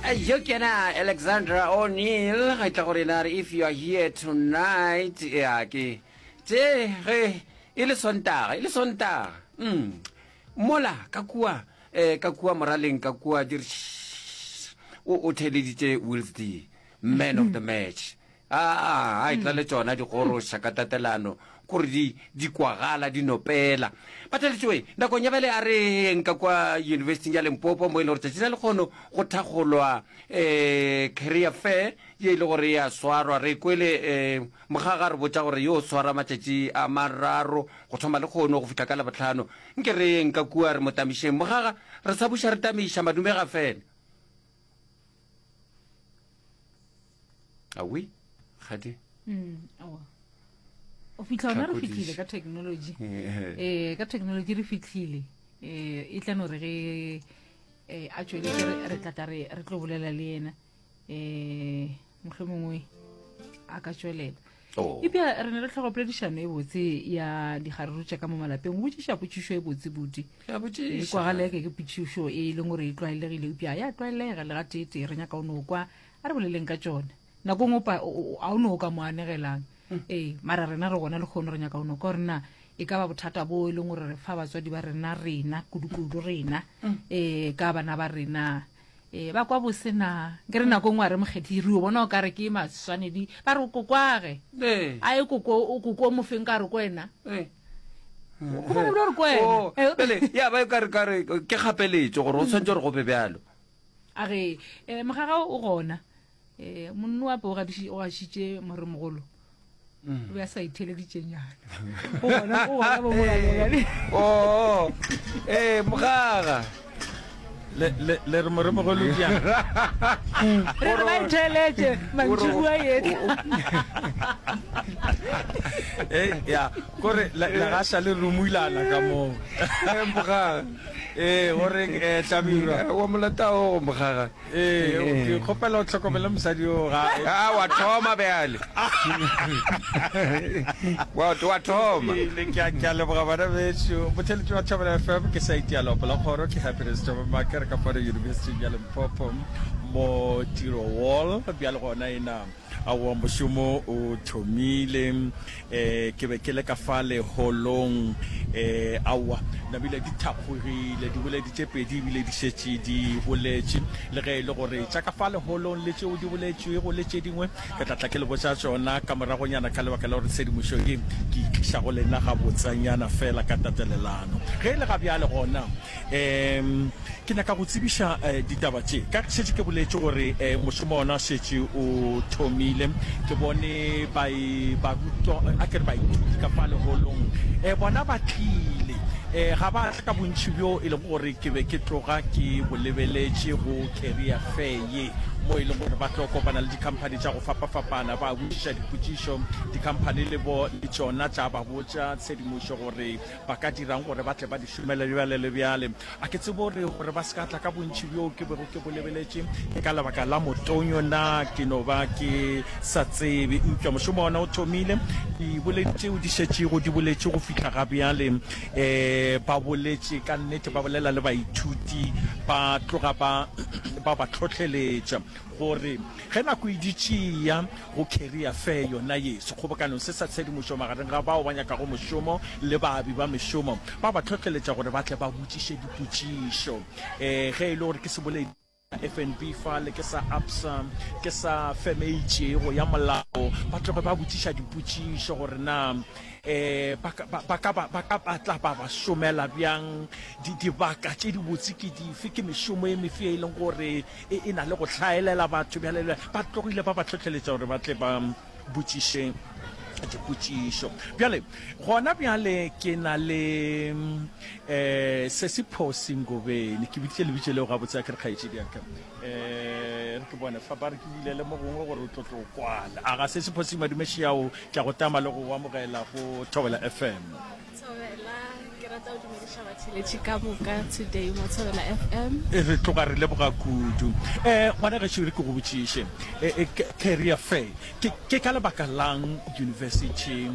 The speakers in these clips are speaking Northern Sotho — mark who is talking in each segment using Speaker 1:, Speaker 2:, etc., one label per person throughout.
Speaker 1: Yo ke yena Alexandra O'Neill ga e tla go rena re if you are here tonight ya ke tše ge e le sontaga e le sontaga mm. mola ka kua eh, ka kua moraleng ka kua di re o o theleditše Wills D man of the match Aa, a etla le tšona di goroša ka tatelano, kore di, di kwagala, di nopela. Batheletšoe, nakong ya bjale a re yeng ka kwa Yunibesithing ya Limpopo, mo e le gore tšatši la lekgono go thakgolwa um career fair ye e le gore e a swarwa. Re kwele um Mokgaga a re botša gore yo swara matšatši a mararo go thoma lekgono go fihla ka Labohlano. Nke re yeng ka kua re mo tamišeng. Mokgaga, re sa buša re tamiša, madume ga fele. Awi, gadi.
Speaker 2: Mm, awa. O fitlha ona re fitlhile ka technology. Eh, ka technology re fitlhile. Eh, e tla no re ge eh a tšweletše re re tla tla re re tlo bolela le yena. Eh, mohlomongwe a ka tšwelela.
Speaker 1: Oh.
Speaker 2: Epja re ne re tlhoka poledišano e botse ya digaruru tša ka mo malapeng. O botšiša potšišo e botse buti.
Speaker 1: Ke a botšiša.
Speaker 2: E kwagala eke ke potšišo e leng gore e tlwaelegile eupša ya tlwaelega le gateetee re nyaka o no kwa a re boleleng ka tšone. Nako nngwe pa a o no o ka mo anegelang. Ee, mara rena re gona lehono re nyaka o no kwa gore na e ka ba bothata bo e leng gore re fa batswadi ba rena rena kudu-kudu rena ee ka bana ba rena Ee, ba kwa bose na? Ke re nako nngwe a re mokgethi re o bona o ka re ke maswanedi ba re o kokwage.
Speaker 1: Ee.
Speaker 2: A e koko o koko o mofeng ka re ko wena.
Speaker 1: Ee.
Speaker 2: Go bona ebile gore ko wena.
Speaker 1: Oh, pele ya ba ka re ka re ke kgapeletšo gore o tshwanetse gore go be bjalo.
Speaker 2: A re eh mogaga o gona. Eh monno wa pe o gadiši o gašitše moremogolo. O be a sa itheleditšenyana. O gona o gona bo mogalela.
Speaker 1: Oh, eh mogaga.
Speaker 3: Le le le re moremogolo bjang?
Speaker 2: Re re ba itheletše mantšiboa etla.
Speaker 3: Eh ya, kore le le gaša le rumulana ka moo.
Speaker 1: Eh mogaga.
Speaker 3: Eh o reng eh Hlabirwa?
Speaker 1: Wa molata o mogaga.
Speaker 3: Ee, ke kgopela o hlokomele mosadi yo ga.
Speaker 1: A wa thoma bjale. Wa wa thoma.
Speaker 3: Ile ke a ke a leboga bana bešo. Botheletši wa Thobela FM ke saete ya Lopo la Kgoro ke Happiness Thobela Makere ka fano University ya Limpopo mo Tiro Wall bjale gona ena Aowa, mošomo o thomile. Um ke be ke le ka fale holong. Um aowa, nabile di thakgogile, diboledi tše pedi ebile di šetše di boletše. Le ge e le gore tša ka fale holong le tšeo di boletšwego le tše dingwe, ke tla tla ke le botša tšona ka moragonyana ka lebaka la gore tshedimošo ye ke e tliša go lena gabotsanyana feela ka tatelelano. Ge e le ga bjale gona, Um ke nyaka go tsebiša ditaba tše. Ka ge šetše ke boletše gore mošomo ona šetše o thomile, ke bone ba barutwa, a ke re baithuti ka fa leholong, bona ba tlile. Ga ba tla ka bontši bjo e lego gore ke be ke tloga ke bo lebeletše go Career Fair ye, mo e lego gore ba tlo kopana le dikhamphani tša go fapafapana, ba botšiša dipotšišo, dikhamphani le bo le tšona tša ba botša tshedimošo gore Ba ka dira'ng gore ba tle ba di šomele bjale le bjale? A ke tsebe gore, gore ba se ka tla ka bontši bjoo ke bego ke bo lebeletše, ke ka lebaka la motonyo na? Ke no ba ke sa tsebe. Eupša mošomo wona o thomile. Diboledi tšeo di šetšego di boletše go fihla ga bjale, um ba boletše ka nnete, ba bolela le baithuti, ba tloga ba, ba ba hlohleletša gore ge nako e dutše e eya, Go Career Fair yona ye, sekgobokanong se sa tshedimošo magareng ga bao ba nyakago mošomo le baabi ba mešomo, ba ba hlohleletša gore ba tle ba botšiše dipotšišo. Ge e le gore ke seboledi sa FNB fale, ke sa Absa, ke sa feme e itšego ya molao, ba tloge ba botšiša dipotšišo gore na ba ka ba ka ba ka ba tla ba ba šomela bjang, dibaka tše dibotse ke dife, ke mešomo e mefe e leng gore e e na le go hlaelela batho bjale le ba tlogile ba ba hlohleletša gore ba tle ba botšiše dipotšišo. Bjale gona bjale ke na le um Sesi Phosi Ngobeni, ke biditše lebitso leo gabotse a ke re kgaetšedi ya ka um re ke bone fa ba re ke bulele mo gongwe gore o tlo tlo kwala. A ga Sesi Phosi Madumešiao, ke a go tama le go go amogela go Thobela FM.
Speaker 4: Thobela, ke rata go dumediša batheeletši ka moka today mo Thobela FM.
Speaker 3: Re tloga re leboga kudu. Eh, ngwana gešo re ke go botšiše, eh, eh, career fair ke, ke ka lebaka lang university?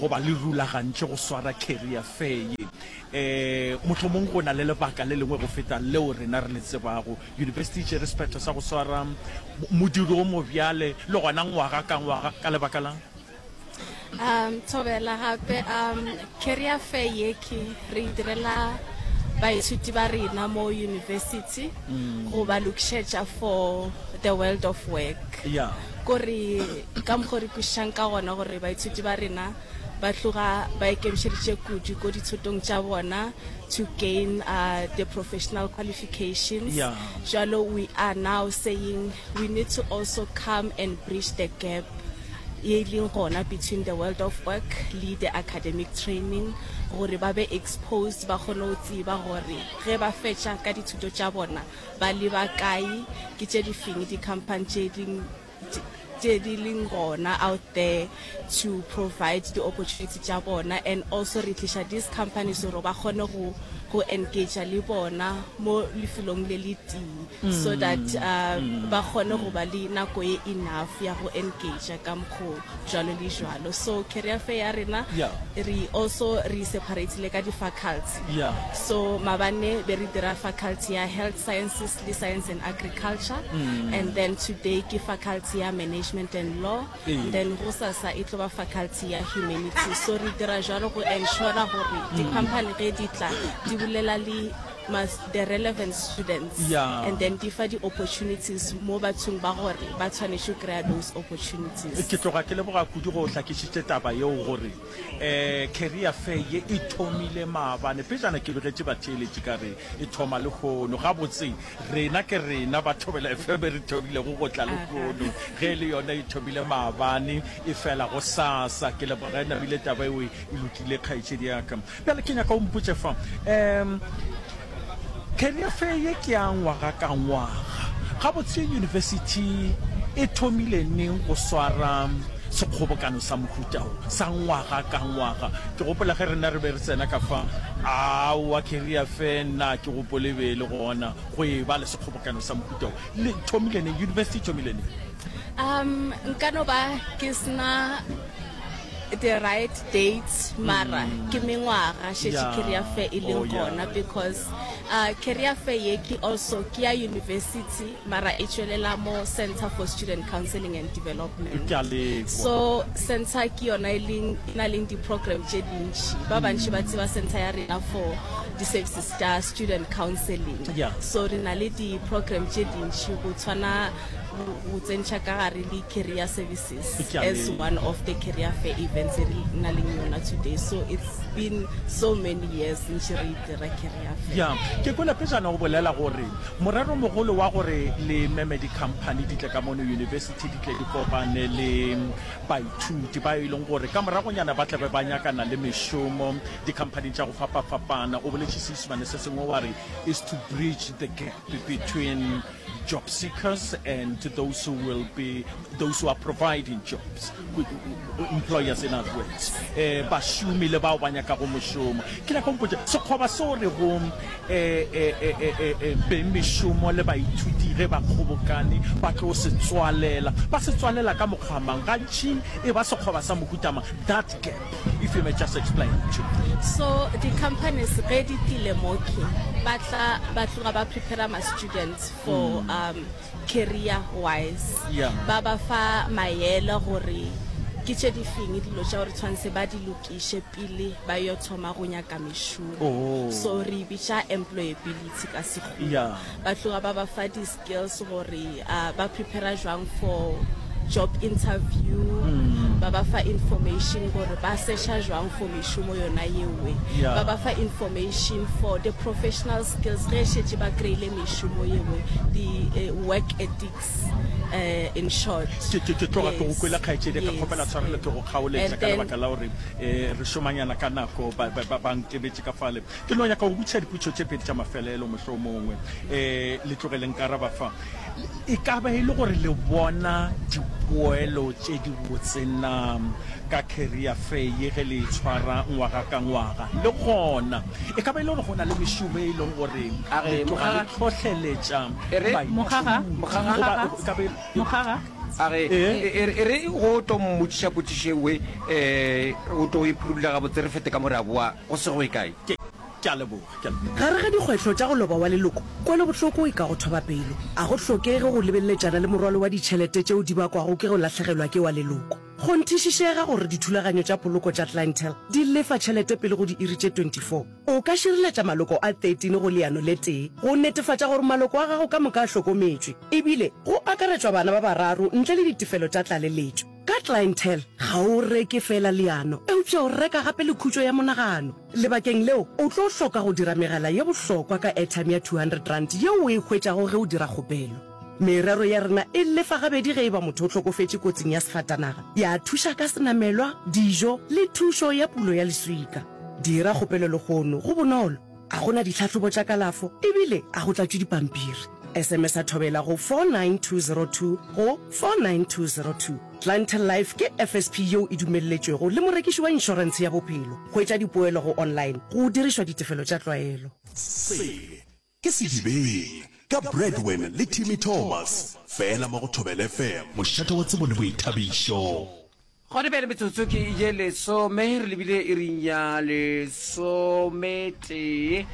Speaker 3: goba le rulagantše go swara Career Fair ye. Um mohlomong go na le lebaka le lengwe go feta leo rena re le tsebago. Yunibesithi e tšere sephetho sa go swara modiro o mobjale le gona ngwaga ka ngwaga ka lebaka la'ng?
Speaker 4: Um thobela gape um career fair ye ke re e direla baithuti ba rena mo university go ba lokišetša for the world of work.
Speaker 3: Yeah.
Speaker 4: Kore ka mokgo re kwešišang ka gona gore baithuti ba rena ba tloga ba ikemišeditše kudu ko dithutong tša bona to gain uh, the professional qualifications.
Speaker 3: Yeah.
Speaker 4: Jalo we are now saying we need to also come and bridge the gap ye e leng gona between the world of work le the academic training gore ba be exposed ba kgone go tseba gore ge ba fetša ka dithuto tša bona ba leba kae, ke tše di feng di-company tše di tše di leng gona out there to provide di-opportunity tša bona and also re tliša these companies gore ba kgone go go engage le bona mo lefelong le le tee. so that uh, ba kgone go ba le nako ye enough ya go engage ka mokgo jwalo le jwalo. So career fair ya rena
Speaker 3: Yeah.
Speaker 4: re also re separatile ka di-faculty.
Speaker 3: Yeah.
Speaker 4: So mabane be re dira faculty ya health sciences le science and agriculture, and then today ke faculty ya management and law,
Speaker 3: Ee.
Speaker 4: then gosasa e tlo ba faculty ya humanities. So re dira jwalo go ensure gore di-company ge di tla di bolela le mas the relevant students
Speaker 3: Yeah.
Speaker 4: and then di fa di-opportunities mo bathong ba gore ba tshwanetše go kry-a those opportunities.
Speaker 3: Ke tloga ke leboga kudu ge o hlakišitše taba yeo gore um career fair ye e thomile maabane. Pejana ke begetše batheeletši ka re e thoma lehono. Gabotse rena ke rena ba Thobela FM re thomilego go tla lehono, ge e le yona e thomile maabane e fela gosasa. Ke leboga e namile taba eo e lokile kgaetšedi ya ka. Bjale ke nyaka o mpotše fa, um career fair ye ke ya ngwaga ka ngwaga. Gabotse yunibesithi e thomile neng go swara sekgobokano sa mohuta wo sa ngwaga ka ngwaga? Ke gopola ge rena re be re tsena ka fa, aowa career fair nna ke gopole e be e le gona go e ba le sekgobokano sa mohuta wo. Le thomile neng? Yunibesithi e thomile neng?
Speaker 4: Um nka no ba ke sena the right dates mara ke mengwaga šetše
Speaker 3: Yeah.
Speaker 4: career fair e leng
Speaker 3: Oh, yeah.
Speaker 4: gona because uh, career fair ye ke also ke ya university mara e tšwelela mo Center for Student Counseling and Development.
Speaker 3: Ke a lekwa.
Speaker 4: So center ke yona e leng e na leng di-program tše dintši ba bantši ba tseba center ya rena for di-services tša student counseling.
Speaker 3: Yeah.
Speaker 4: So re na le di-program tše dintši go tshwana go go tsentšha ka gare le career services
Speaker 3: Ke a
Speaker 4: as
Speaker 3: leboga.
Speaker 4: one of the career fair events e re na leng yona today. So it's been so many years ntše re dira career fair.
Speaker 3: Ya, ke kwele pejana o bolela gore moreromogolo wa gore le meme di-company di tle ka mono university di tle di kopane le baithuti ba e leng gore ka moragonyana ba tla be ba nyakana le mešomo di-company tša go fapafapana. O boletše Seisemane se sengwe wa re is to bridge the gap between job seekers and those who will be those who are providing jobs, employers in other words, eh, bašomi le bao ba nyakago mošomo. Ke nyaka o mpotše sekgoba seo re go eh, eh, eh, eh, eh, eh, beng mešomo le baithuti ge ba kgobokane ba tlo se tswalela, ba se tswalela ka mokgwa mang? Gantši e ba sekgoba sa mohuta mang? That gap, if you may just explain to me.
Speaker 4: So di-companies ge di tlile mo ke ba tla ba tloga ba prepare ma-students for um, career wise.
Speaker 3: Yeah.
Speaker 4: Ba ba fa maele gore ke tše di feng dilo tša gore tshwanetse ba di lokiše pele ba yo thoma go nyaka mešomo.
Speaker 3: Oh.
Speaker 4: So re e bitša employability ka Sekgowa.
Speaker 3: Yeah.
Speaker 4: Ba tloga ba ba fa di-skills gore uh, ba prepare jwang for job interview, ba ba fa information gore ba searcha jwang for mešomo yona yewe.
Speaker 3: Yeah.
Speaker 4: Ba ba fa information for the professional skills ge šetše ba kry-ile mešomo yewe, the uh, work ethics uh, in short.
Speaker 3: Ke, ke, ke tloga ke go
Speaker 4: Yes,
Speaker 3: kwele kgaetšedi, ka
Speaker 4: yes.
Speaker 3: kgopela tshwarelo ke go kgaoletša
Speaker 4: And
Speaker 3: ka
Speaker 4: then-
Speaker 3: lebaka la gore eh, re šomanyana ka nako ba, ba, ba, ba nkebetše ka fale. Ke no nyaka go botšiša dipotšišo tše pedi tša mafelelo mohlomongwe um le tloge le nkaraba fa. E ka ba e le gore le bona dipoelo tše dibotse na ka Career Fair ye ge le e tshwara ngwaga ka ngwaga? Le gona e ka ba e le gore go na le mešomo e leng gore
Speaker 1: A re,
Speaker 3: le tloga le
Speaker 1: Mogaga.
Speaker 3: hlohleletša
Speaker 1: E re,
Speaker 3: baithuti
Speaker 2: Mogaga,
Speaker 1: Mogaga.
Speaker 3: goba e ka ba e
Speaker 2: Mogaga.
Speaker 1: A re, e, e re go tlo mmotšiša potšišo e nngwe, um o tlo e phurulla gabotse re fete ka mo re a boa go se go ye kae.
Speaker 3: Ke, ke a leboga, ke a leboga.
Speaker 5: Gare ga dikgwehlo tša go loba wa leloko, kwelobohloko e ka go thoba pelo. A go hlokege go lebeleletšana le morwalo wa ditšhelete tšeo di bakwago ke go lahlegelwa ke wa leloko. Kgonthišišega gore dithulaganyo tša poloko tša Clientele di lefa tšhelete pele go diiri tše 24. O ka šireletša maloko a 13 go leano le tee go netefatša gore maloko a gago ka moka a hlokometšwe, ebile go akaretšwa bana ba bararo ntle le ditefelo tša tlaleletšo. Ka Clientele, ga o reke feela leano, eupša o reka gape le khutšo ya monagano. Lebakeng leo, o tlo hloka go dira megala ye bohlokwa ka airtime ya R200 yeo o e hwetšago ge o dira kgopelo. Merero ya rena e lefa gabedi ge e ba motho o hlokofetše kotsing ya sefatanaga, ya thuša ka senamelwa, dijo le thušo ya pulo ya leswika. Dira kgopelo lehono, go bonolo, a go na ditlhahlobo tša kalafo ebile a go tlatšwe dipampiri. SMS-a Thobela go 49202 go 49202. Clientele Life ke FSP yeo e dumelletšwego le morekiši wa inšorentshe ya bophelo. Hwetša dipoelo go online go dirišwa ditefelo tša tlwaelo.
Speaker 6: Se ke Sedibeng ka Bradwin le Timmy Thomas, fela mo go Thobela FM, mošate wa tsebo le boithabišo.
Speaker 1: Gona bjale metsotso ke ye lesome, re lebile iring ya lesometee.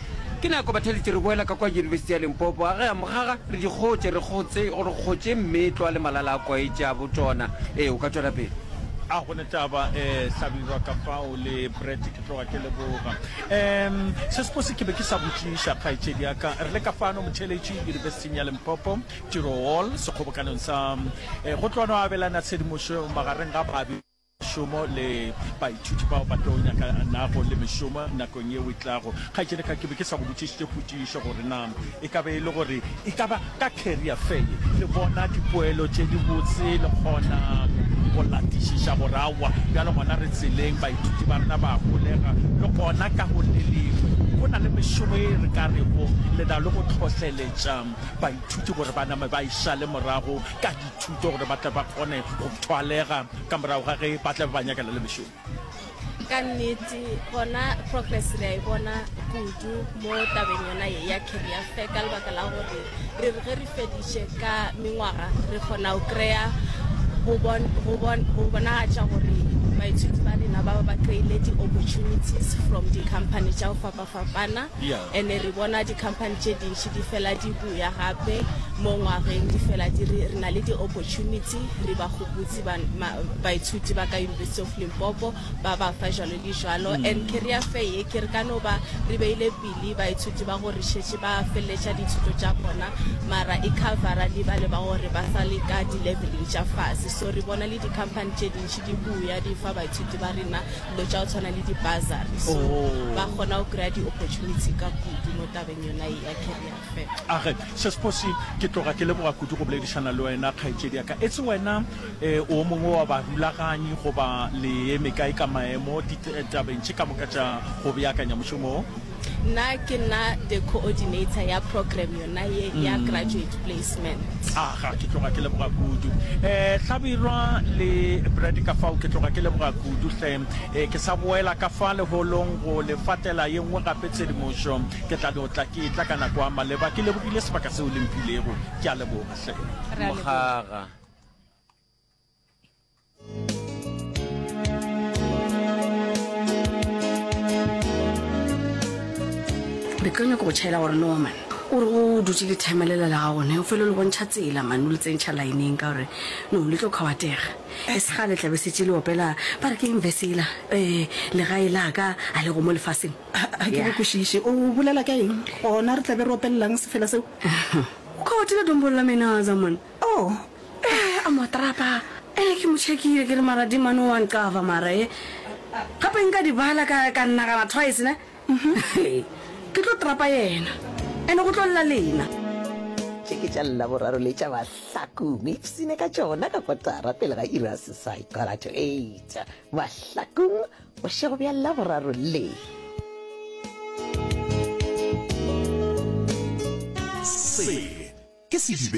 Speaker 1: Ke nako batheletši re boela ka kwa Yunibesithi ya Limpopo. A ge a mogaga re di kgotše, re kgotse, re kgotše mmetlwa le malala a kwaetše a botona. Ee, o ka tšwela pele.
Speaker 3: A go ne taba, eh, Hlabirwa ka fao le Brett, ke tloga ke leboga. Um se sepose ke be ke sa botšiša kgaetšedi ya ka. Re le ka fano motheeletši Yunibesithing ya Limpopo, Tiro Hall, sekgobokanong sa eh, go tloa no abelana tshedimošo magareng ga baabi mešomo le baithuti bao ba tlo nyakanago le mešomo nakong yeo e tlago. Kgaetšedi ka ke be ke sa go botšišitše potšišo gore na e ka be e le gore e ka ba ka career fair ye le bona dipoelo tše dibotse le kgona go latišiša gore aowa bjale gona re tseleng baithuti ba rena ba holega le gona ka go le lengwe go na le mešomo e re ka rego le na le go hlohleletša baithuti gore ba name ba e šale morago ka dithuto gore ba tle ba kgone go thwalega ka morago ga ge ba tla be ba nyakana le mešomo.
Speaker 4: Ka nnete gona progress re a e bona kudu mo tabeng yona ye ya career fair ka lebaka la gore re re ge re feditše ka mengwaga re kgona go kry-a go bonagatša gore baithuti ba rena ba ba ba kry-ile di-opportunities from di-company tša go fapafapana and-e re bona di-company tše dintši di fela di buya gape mo ngwageng di fela di re re na le di-opportunity re ba gopotse baithuti ba ka University of Limpopo ba ba fa jalo le jalo. And career fair ye ke re ka no ba re beile pele baithuti ba gore šetše ba feleletša dithuto tša bona mara e covera le bale ba gore ba sa le ka di-leveleng tša fase. So re bona le di-company tše dintši di buya di fa baithuti ba rena dilo tša go tshwana le di-bursary so ba kgona go kry-a di-opportunity ka kudu mo tabeng yona ye ya career fair.
Speaker 3: Age, Sesiphosi, ke tloga ke leboga kudu go boledišana le wena, kgaetšedi ya ka. Etse wena eh, o mongwe wa barulaganyi goba le eme kae ka maemo ditabeng tše ka moka tša go beakanya mošomo wo?
Speaker 4: Nna ke nna the coordinator ya program yona ye ya graduate placement.
Speaker 3: Aga, ke tloga ke leboga kudu. Eh, Hlabirwa le Brad ka fao, ke tloga ke leboga kudu hle. Eh, ke sa boela ka fa leholong go le fatela ye nngwe gape tshedimošo. Ke tla no tla ke etla ka nako ya maleba. Ke lebogile sebaka seo le mphilego. Ke a leboga hle.
Speaker 2: Re a leboga.
Speaker 1: Mogaga.
Speaker 7: Be ke nyaka go tšhaela gore no man o re o dutše le timer lela la gago ne o fele le bontšha tsela man o le tsentšha lineng ka gore no le tlo kgawatega e se gale tla be setse le opela ba re ke eng verse ela um legae la ka a lego mo lefaseng
Speaker 8: Ga ke go kwešiše. O bolela ka eng? Gona re tla be re opelelang sefela seo?
Speaker 7: O kgawatile dombolo la menaza man.
Speaker 8: Oh,
Speaker 7: Eh, a mo trapa. Ene ke mo checkile ke re mara di mane wa nqava mara e. Gape nka di bala ka ka nagana twice ne. Ke tlo trapa yena. Ene go tlo lla lena.
Speaker 9: Tše ke tša Laboraro le tša Mahlakong. Ipsine ka tšona ka kotara pele ga iri ya seswai, quarter to eight. Mahlakong, bošego bja Laboraro le.
Speaker 6: Se ke Sedibeng.